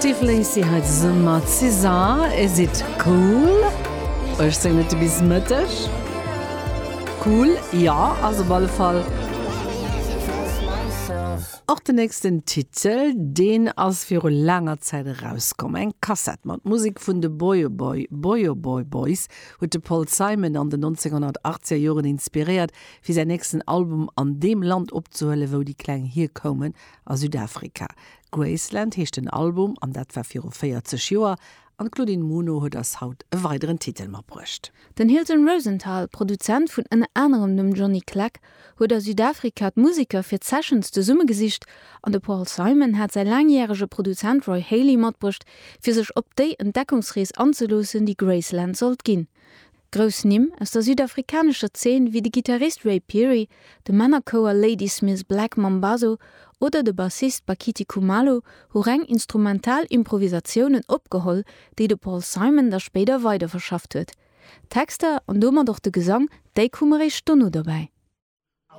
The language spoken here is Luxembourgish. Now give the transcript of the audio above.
Steve Lacy hei zesumme mat César, Is it cool? 18 Minutte bis Mëtteg. Cool, jo, ass op alle Fall. Och den nächsten Titel, deen ass viru laanger Zäit erauskomm. Eng Kassett mat Musek vun de Boyo Boy Boyo Boy Boys huet de Paul Simon an den 1980er Joren inspiréiert, fir säin nächsten Album an deem Land opzehuelen, wou déi Kleng hierkoumen, a Südafrika. Graceland heescht den Album an dat war viru 40 Joer. An d'Claudine Muno huet eis haut e weideren Titel matbruecht. Den Hilton Rosenthal, Produzent vun ënner anerem dem Johnny Clegg, huet a Südafrika d'Museker fir d'Sessions zesummegesicht an de Paul Simon hat säi laangjärege Produzent Roy Halee matbruecht, fir sech op déi Entdeckungsrees anzeloossen, déi Graceland sollt ginn. Grouss Nimm aus der südafrikanescher Zeen wéi de Gittarist Ray Phiri, de Männerchouer Ladysmith Black Mambazo oder de Bassist Bakithi Kumalo hu reng instrumental Improvisatiounen opgeholl, déi de Paul Simon da spéider weiderverschafft huet. D'Texter an domat och de Gesang, déi koume réischt dono dobäi.